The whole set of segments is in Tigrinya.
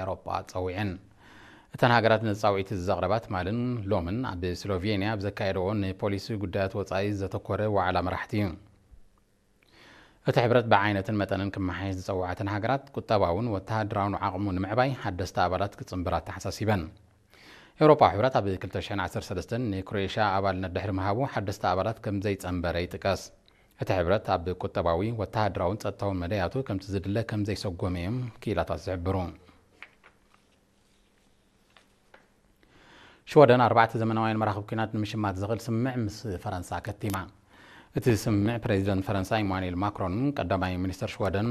ኤውሮጳ ጸዊዐን። እተን ሃገራት ነቲ ጻውዒት ዘቕረባት ትማልን ሎምን ኣብ ስሎቬንያ ኣብ ዘካየደዎ ንፖሊሲ ጉዳያት ወጻኢ ዘተኮረ ዋዕላ መራሕቲ እዩ። እቲ ሕብረት ብዓይነትን መጠንን ክመሓየሽ ዝጸውዓተን ሃገራት ቁጠባውን ወተሃደራውን ዓቕሙ ንምዕባይ ሓደስቲ ኣባላት ክጽንብራ ኣተሓሳሲበን። ኤውሮፓዊ ሕብረት ኣብ ክልተ ሽሕን ዓሰርተ ሰለስተን ንክሮኤሽያ ኣባልነት ድሕሪ ምሃቡ ሓደስቲ ኣባላት ከም ዘይጸንበረ ይጥቀስ። እቲ ሕብረት ኣብ ቁጠባዊ፣ ወተሃደራውን ጸጥታውን መደያቱ ከምቲ ዝድለ ከም ዘይሰጎመ እዮም ክኢላታት ዝሕብሩ። ሽወደን ኣርባዕተ ዘመናውያን መራኽብ ኲናት ንምሽማት ዘኽእል ስምምዕ ምስ ፈረንሳ ከቲማ። እቲ ስምምዕ ፕሬዚደንት ፈረንሳ ኢማኑኤል ማክሮንን ቀዳማይ ሚኒስተር ሽወደን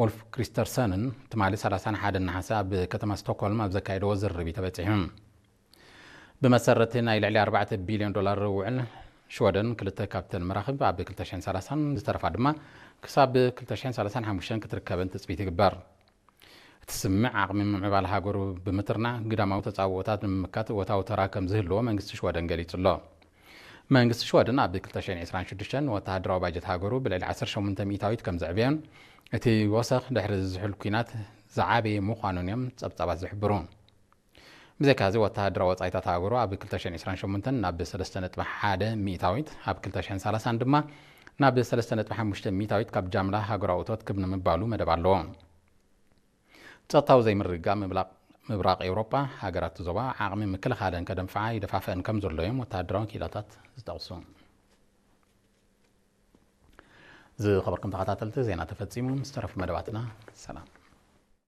ኡልፍ ክሪስተርሰንን ትማሊ ሰላሳን ሓደን ነሓሰ ኣብ ከተማ ስቶክሆልም ኣብ ዘካየደዎ ዝርርብ እዩ ተበጺሑ። ብመሰረት ናይ ልዕሊ ኣርባዕተ ቢልዮን ዶላር ውዕል ሽወደን ክልተ ካብተን መራኽብ ኣብ ክልተ ሽሕን ሰላሳን ዝተረፋ ድማ ክሳብ ክልተ ሽሕን ሰላሳን ሓሙሽተን ክትርከበን ትጽቢት ይግበር። እቲ ስምምዕ ዓቕሚ ምምዕባል ሃገሩ ብምትርናዕ ግዳማዊ ተጻብኦታት ንምምካት እወታዊ ተራ ከም ዝህልዎ መንግስቲ ሽወደን ገሊጹ ኣሎ። መንግስቲ ሽወደን ኣብ ክልተ ሽሕን ዕስራን ሽዱሽተን ወተሃደራዊ ባጀት ሃገሩ ብልዕሊ ዓሰርተ ሸሞንተ ሚእታዊት ከም ዘዕበዮን እቲ ወሰኽ ድሕሪ ዝዝሕል ኲናት ዝዓበየ ምዃኑን እዮም ጸብጻባት ዝሕብሩ። ብዘይካዚ ወተሃደራዊ ወጻኢታት ሃገሩ ኣብ ክልተ ሽሕን ዕስራን ሸሞንተን ናብ ሰለስተ ነጥቢ ሓደ ሚእታዊት፣ ኣብ ክልተ ሽሕን ሰላሳን ድማ ናብ ሰለስተ ነጥቢ ሓሙሽተ ሚእታዊት ካብ ጃምላ ሃገራዊ እቶት ክብ ንምባሉ መደብ ኣለዎ። ጸጥታዊ ዘይምርግጋእ ምብላቕ ምብራቕ ኤውሮጳ ሃገራት ዞባ ዓቕሚ ምክልኻለን ከደንፍዓ ይደፋፍአን ከም ዘሎ እዮም ወተሃደራዊ ክኢላታት ዝጠቕሱ። ዝኸበርኩም ተኸታተልቲ፣ ዜና ተፈጺሙ። ምስ ተረፉ መደባትና ሰላም።